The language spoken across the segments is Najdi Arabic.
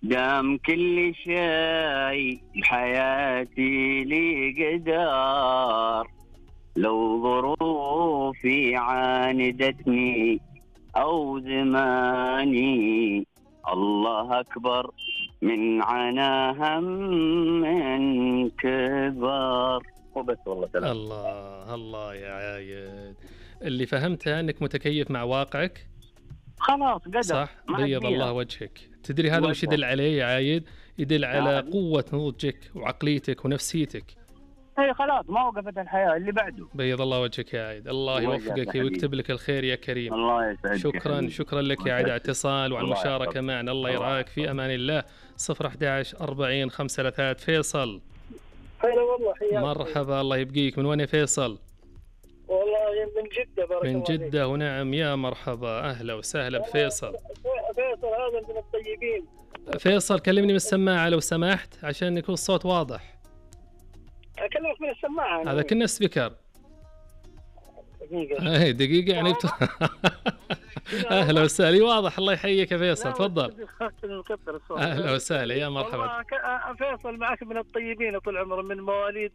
دام كل شيء بحياتي لي قدر، لو ظروفي عاندتني أو زماني، الله أكبر من عناها من كبر. وبس والله سلام. الله الله يا عايد، اللي فهمته أنك متكيف مع واقعك. خلاص قدر، صح، بيض الله وجهك. تدري هذا وش يدل عليه يا عايد؟ يدل على قوة نضجك وعقليتك ونفسيتك. اي خلاص ما وقفت الحياة، اللي بعده. بيض الله وجهك يا عايد، الله يوفقك ويكتب لك الخير يا كريم. الله يسعدك. شكرا لك يا عايد على الاتصال وعلى المشاركة معنا. الله يرعاك، في أمان الله. 011 40 533. فيصل. هلا والله، حياك. مرحبا، الله يبقيك. من وين يا فيصل؟ والله من جدة. بارك الله من جدة، ونعم يا مرحبا، أهلا وسهلا بفيصل. فيصل هذا من الطيبين. فيصل كلمني من السماعة لو سمحت عشان يكون الصوت واضح. أكلمك من السماعة. هذا كنا سبيكر. دقيقة. دقيقة يعني أهلا وسهلا. واضح، الله يحييك يا فيصل، تفضل. أهلا وسهلا يا مرحبا. فيصل معك من الطيبين طول عمره، من مواليد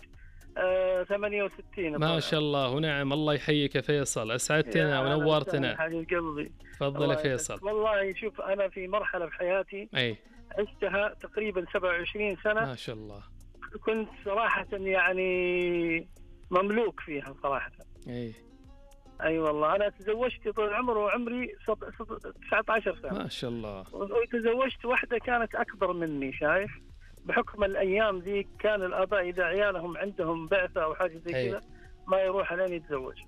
68. ما شاء الله ونعم، الله يحييك يا فيصل، أسعدتنا ونورتنا. حبيب قلبي. تفضل يا فيصل. والله شوف، أنا في مرحلة في حياتي عشتها تقريبا 27 سنة. ما شاء الله. كنت صراحة يعني مملوك فيها صراحة. أي والله، أنا تزوجت طول العمر وعمري 19 سنة. ما شاء الله. وتزوجت واحدة كانت أكبر مني، شايف؟ بحكم الأيام ذي كان الآباء إذا عيالهم عندهم بعثة أو حاجة زي كذا ما يروح لين يتزوج.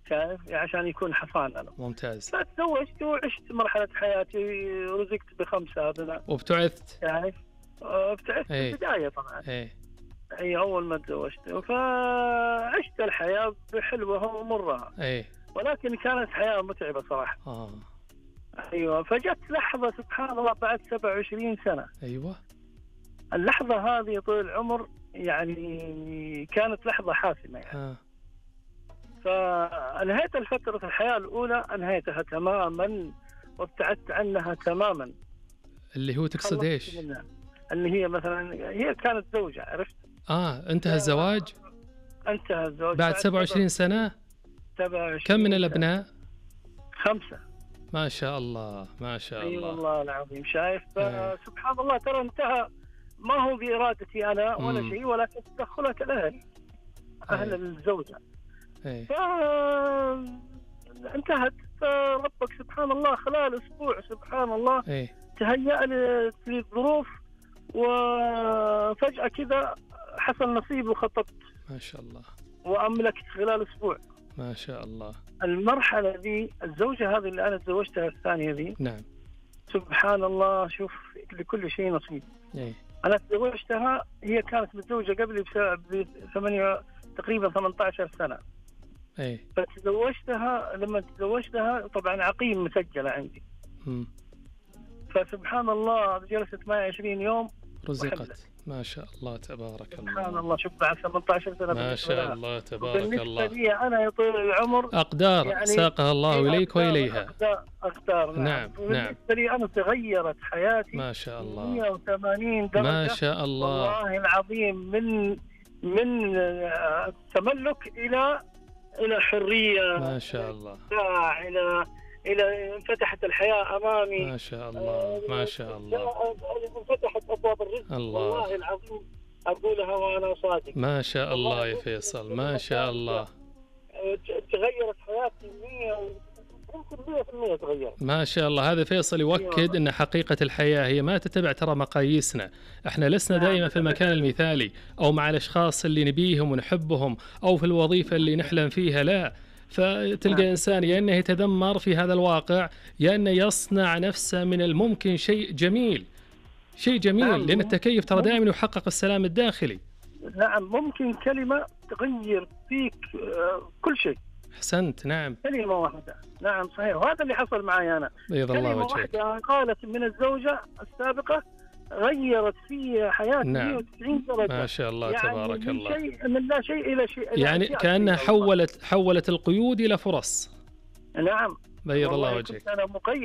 شايف؟ عشان يكون حصان. أنا ممتاز. فتزوجت وعشت مرحلة حياتي، رزقت ب5 أبناء. وابتعثت؟ شايف؟ ابتعثت في البداية طبعا. هي أول ما تزوجت، فعشت الحياة بحلوها ومرها. ولكن كانت حياة متعبة صراحة. أيوة. فجت لحظة سبحان الله بعد 27 سنة. أيوة. اللحظة هذه طول العمر يعني كانت لحظة حاسمة يعني. فأنهيت الفترة الحياة الأولى، أنهيتها تماما وابتعدت عنها تماما. اللي هو تقصد إيش؟ اللي هي مثلا هي كانت زوجة، عرفت؟ انتهى الزواج؟ انتهى الزواج بعد 27 سنة؟ 27. كم من الأبناء؟ 5. ما شاء الله ما شاء الله. أي والله العظيم. شايف؟ سبحان الله، ترى انتهى ما هو بإرادتي أنا ولا شيء، ولكن تدخلت الأهل، أهل الزوجة. انتهت. فربك سبحان الله خلال أسبوع سبحان الله تهيأ لي الظروف، وفجأة كذا حصل نصيب وخطبت. ما شاء الله. وأملكت خلال أسبوع. ما شاء الله. المرحلة ذي، الزوجة هذه اللي أنا تزوجتها الثانية ذي، نعم، سبحان الله، شوف لكل شيء نصيب. أنا تزوجتها، هي كانت متزوجة قبلي تقريبا 18 سنة. فتزوجتها، لما تزوجتها طبعا عقيم مسجلة عندي. فسبحان الله جلست معي 20 يوم رزقت. ما شاء الله تبارك الله. سبحان الله. شوف بعد 18 سنة ما شاء الله تبارك الله. بالنسبة لي أنا يا طول العمر أقدار يعني ساقها الله إليك وإليها. أقدار. نعم. بالنسبة لي أنا تغيرت حياتي. ما شاء الله. 180 درجة. ما شاء الله. والله العظيم، من تملك إلى حرية. ما شاء الله. إلى انفتحت الحياة أمامي. ما شاء الله ما شاء الله. انفتحت أبواب الرزق. الله. والله العظيم أقولها وأنا صادق. ما شاء الله يا فيصل، ما شاء الله. تغيرت حياتي 100% تغيرت. ما شاء الله. هذا فيصل يؤكد أن حقيقة الحياة هي ما تتبع ترى مقاييسنا. احنا لسنا دائما في المكان المثالي أو مع الأشخاص اللي نبيهم ونحبهم أو في الوظيفة اللي نحلم فيها، لا. فتلقى إنسان يا أنه يتذمر في هذا الواقع، يا أنه يصنع نفسه من الممكن شيء جميل، شيء جميل. لأن التكيف ترى دائما يحقق السلام الداخلي. نعم، ممكن كلمة تغير فيك كل شيء. أحسنت. نعم، كلمة واحدة. نعم صحيح، وهذا اللي حصل معي أنا. بيض الله وجهك. كلمة واحدة قالت من الزوجة السابقة غيرت في حياتي. نعم. 190 درجة. ما شاء الله يعني تبارك الله. من لا شيء إلى شيء. يعني كأنها حولت القيود إلى فرص. نعم. بيض الله وجهك. أنا مقيد.